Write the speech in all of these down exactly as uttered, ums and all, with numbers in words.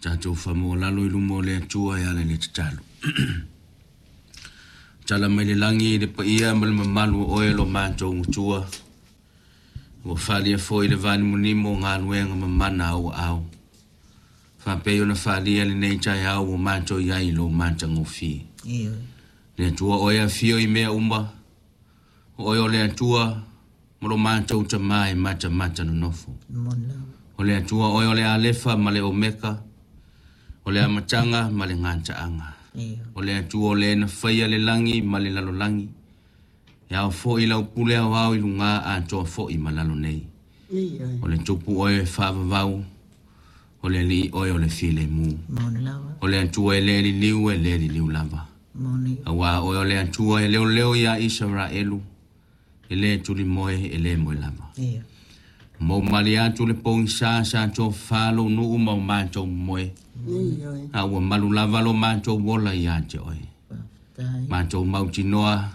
Tatou faamoolalo i luma o le Atua e ala i le tatalo. Tala mai le lagi i le paia ma le mamalu o oe lo matou Atua. Ua faaalia foi le vaanimonimo o galuega mamana a ou aao. Faapei ona faaalia lenei taeao ua matou i ai i lou matagofie. Ioe. Le Atua o oe e afio i mea uma, o oe o le Atua ma lo matou Tamā e matamata nonofo. Moni lava. O le Atua oe o le Alefa ma le Omeka, o le amataga ma le gataaga. Ioe. O le Atua o le na faia le lagi ma le lalolagi. E ao foi lau pule aoao i luga atoa foi ma lalo nei. Ioe. O le tupu oe e faavavau, o le alii oe o le filemu. Moni lava. O le Atua e le liliu e le liliu lava. Moni. Auā oe o le Atua e leoleo ia Isaraelu, e le tulimoe e le moe lava. Ioe. Mo mali atu le pogisa sa tofafa lou nuu ma o matou moe. Ioe. A ua malu lava lo matou ola ia te oe. Faafetai. Matou mautinoa,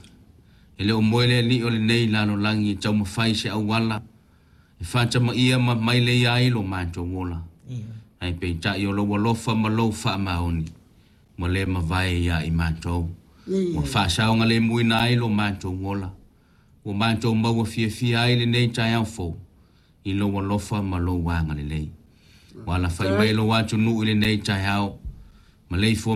e le o moe le alii o lenei lalolagi e taumafai se auala, e faatamaia ma mailei ai lo matou ola. Ioe. Ae peitai o lou alofa ma lou faamaoni, ua le mavae ia i matou. Ua Ioe. faasaogalemuina ai lo matou ola. Ua matou maua fiafia ai lenei taeao fou, i lou alofa ma lou agalelei. Ua alafai mai lou atunuu i lenei taeao, ma leifua